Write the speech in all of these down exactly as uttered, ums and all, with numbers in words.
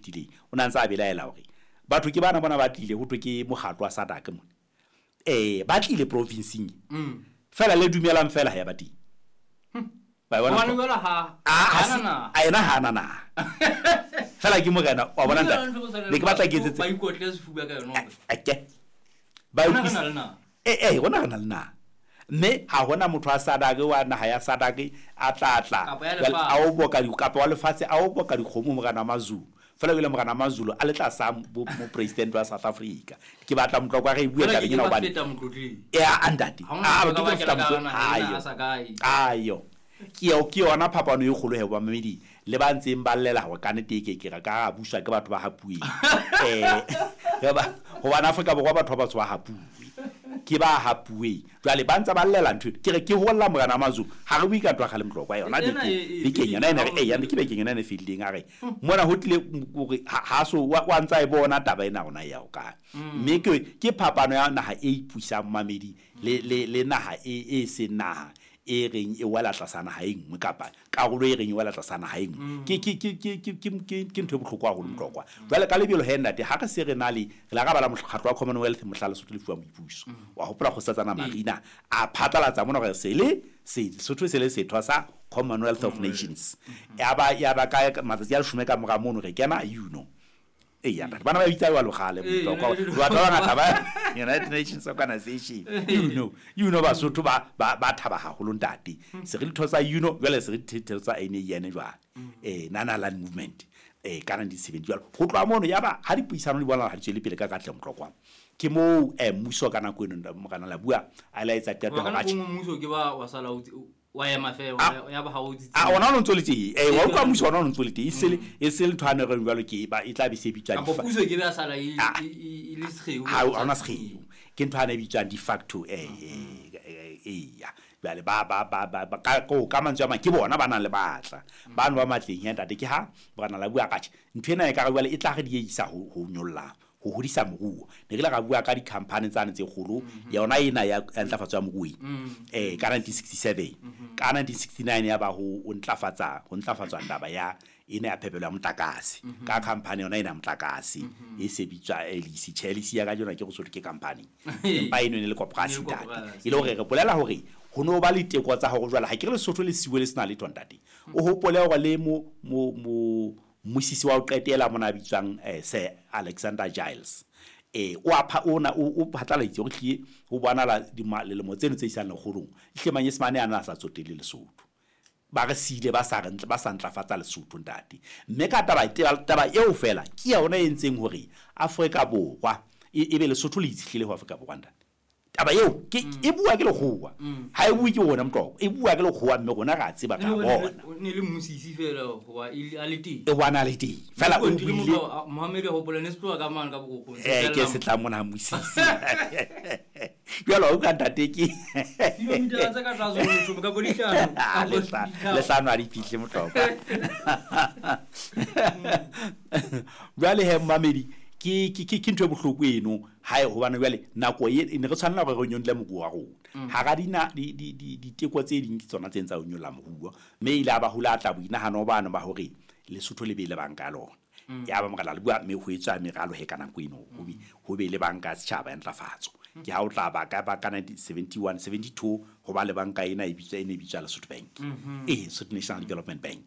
fetileng o na ntse a belaela hore batho ke bana bona ba tlile ho thwe ke mokgatlo wa SADC mona eh ba tlile provinceng Mm. fela le dumelang fela ha ya ba teng ba bona Hobane jwale ha a ha a na naha. a ena ha na naha fela ke morena wa bona ntate ne ke batla ke etsetse ba ikotle sefuba ka yona hore ake ba rona re utlwisi- na le naha. eh eh rona re na le naha mme ha hona motho wa SADC wa naha ya SADC a tla tla Kapa ya jwale lefatshe. a o boka di kapa wa lefatshe a o boka dikgomo morena wa Mazulu fela o ile morena wa Mazulu a le tlasa bo mo president wa South Africa ke batla motlokwa re e bue Jwale tabeng ke ena ba hobane feta motlotleng. e a ntate Ha hona a motho ke a ka tlo feta ba motlo- kena ka naha ena ayo a sa kae. ayo ke yo ke yona phapano e kgolo he bamamedi le ba ntseng ba llela hore ka nnete e ke ke re ka buswa ke batho ba hapuweng eh ba hobane Afrika Borwa batho ba batsho ba hapuwe ke ba hapuweng jwale ba ntse ba llela ntho eno. Ke re ke holla morena wa Mazulu ha re bue ka ntwa kgale motlokwa yona Ena beke- e- e- bekeng yona ena re e- eh ya ke bekeng yona ena e fetileng a re mona ho tlile hore ha ha so wa wa ntsa e bona taba ena rona ya ho kae mme ke ke phapano ya naha e ipusang mamedi le le le naha e e seng naha e reng e wela tlasa naha e nngwe kapa karolo e reng e wela tlasa naha e nngwe ke ke ke ke ke ke ke ke ntho e bohlokwa haholo motlokwa jwale ka lebelo he ntate ha re se re na le re la ka bala mokgatlo wa Commonwealth mohla Lesotho le fuwa boipuso wa hopola kgosatsana Marina a phatlalatsa mona hore se le se Lesotho se le setho sa Commonwealth of Nations ya ba ya ba ka matsatsi a leshome ka mora mono re kena you know ee ya ntate bana ba bitsa jwalo kgale Ee, motlokwa United- batho ba bangata ba United Nations Organization you know you know Basotho ba ba ba thaba haholo ntate se re ditho tsa you know jwale se re ditho tsa N A N jwale eh Nana Land Movement eh ka nineteen seventy jwale ho tloha mono ya ba ha dipuisano di bonahala ha di tswele pele ka katleho motlokwa ke moo eh mmuso ka nako eno morena Labua a la etsa qeto Hoba ka hore nako atjhe e nngwe mmuso ke ba wa sala o tse- wa ema feela, Ah. wa- ya ba ha o tsitsi. a ona o ntso le teng eh wa utlwa mmuso ona o ntso le teng e se le e se le ntho a ne re jwalo ke ba e tla be se bitswa Kapa di fa- puso e ke be ya sala e- Ah. e- e- e le sekgeo. ha ha hona sekgeo ke ntho a ne e bitswang de facto eh eh eh ya jwale ba ba ba ba ba- ka ko ka mantswe a mang ke bona ba nang le matla bano ba matleng ya ntate ke ha morena Labua ka tjhe ntho ena e ka re jwale e tla re dieisa ho ho nyolla ho hodisa moruo ne re ile ra bua ka di-company tsane tse kgolo yona ena ya ya ntlafatso ya moruo eh ka nineteen sixty-seven ka nineteen sixty-nine ya ba ho ho ntlafatsa ho ntlafatswa taba ya ena ya phepelo ya motlakase ka company yona ena ya motlakase e se bitswa L E C tjhe L E C ya kajeno ke go sohle ke company empa eno e ne le koporasi E ne le ntate koporasi. e le hore re bolela hore ho no ba le teko tsa hore jwale ha ke re Lesotho le siwe le sena letho ntate o hopole hore le mo mo mo mmusisi wa ho qetela mona a bitswang eh, Sir Alexander Giles eh o a pha ona o o phatlaladitse hore hlile ho bonahala dima- lilemo tseno tse isang lekgolong ehlile manyesemane ana a sa tsotelle Lesotho ba re siile ba sa re ntle ba sa ntlafatsa Lesotho ntate mme ka taba taba taba eo fela ke yona e entseng hore Afrika Borwa e e be Lesotho le itshetlehile ho Afrika Borwa ntate taba eo ke e bua ke lekgowa ha e bue ke rona motlokwa e bua ke lekgowa mme rona re a tseba E ra le hore bona ne le- ne le mmusisi feela hoba e le- a le teng. e bona le teng fela o Mokontile buile motho a- Mohammed a hopola ne se tloha ka mane ka bokgokong, se eh ke fella se tla mona mmusisi jwale wa utlwa ntate ke Kilometer tse ka tlase ho leshome kapa di hlano, Ah, kapa le hla- di hlano. le hlano ha di fihle motlokwa jwale he mmamedi ke ke ke ke ntho e bohloko eno ha e hobane jwale nako e ne re tshwanela hore re nyolle moruo wa rona hara dina di di di diteko tse ding ke tsona tse ntsa ho nyolla moruo mme ile a ba hula tla boinahano bano ba hore Lesotho le be le banka ya lona ya ba morena le bua mme ho etswa meralo he ka nako eno ho be ho be le banka ya setjhaba ya ntlafatso ke ha o tla ba ka ba ka nineteen seventy-one seventy-two ho ba le banka ena e bitswa e ne e bitswa Lesotho Bank eh Lesotho National Development Bank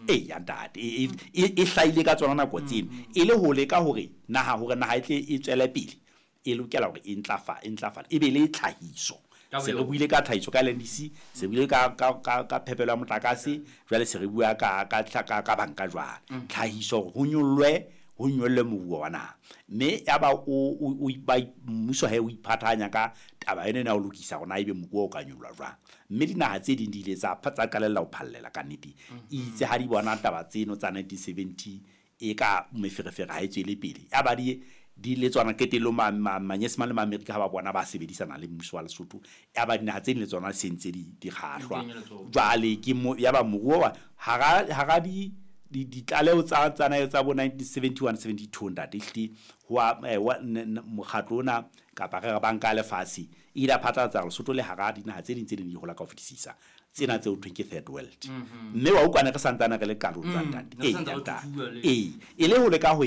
eh ya ntate e e e hlahile ka tsona nako tseno e le ho leka hore naha hore naha e tle e tswele pele e lokela hore e ntlafa e ntlafale e be le tlhahiso Ka se re boyona. buile ka tlhahiso ka L N D C se buile ka ka ka ka phepelo ya motlakase jwale se re bua ka ka ka ka banka jwale tlhahiso hore ho nyollwe ho nyollwe moruo wa naha mme ya ba o o o ba mmuso he o iphathanya ka taba ena ya ho lokisa hore na ebe moruo o ka nyollwa jwang mme dinaha tse ding di ile tsa tsa qalella ho phallela ka nnete itse ha di bona taba tseno tsa nineteen seventy e ka meferefere ha e tswele pele ya ba di di le tsona qetellong ma-, ma-, manyesemane le ma-Amerika ha ba bona ba sebedisana le mmuso wa Lesotho ya ba dinaha tse ding le tsona se ntse di, di kgahlwa. Di kenya letsoho. Jwale ke mo, ya ba moruo wa hara, hara di, di, ditlaleho tsa, tsa na, tsa bo nineteen seventy-one, seventy-two ntate, ehlile ho a, eh, wa, ne, ne, mokgatlo ona kapa re re banka ya lefatshe e ile ya phatlalatsa hore Lesotho le hara dinaha tse ding tse ding di hola ka ho fetisisa tsena tse ho thweng ke third world. Mm-hmm. Mme wa utlwa ne re santsane re le karolo Mm, ntate. ne re Ee, santse re ntate. thuthuwa le- Ee, e le ho leka ho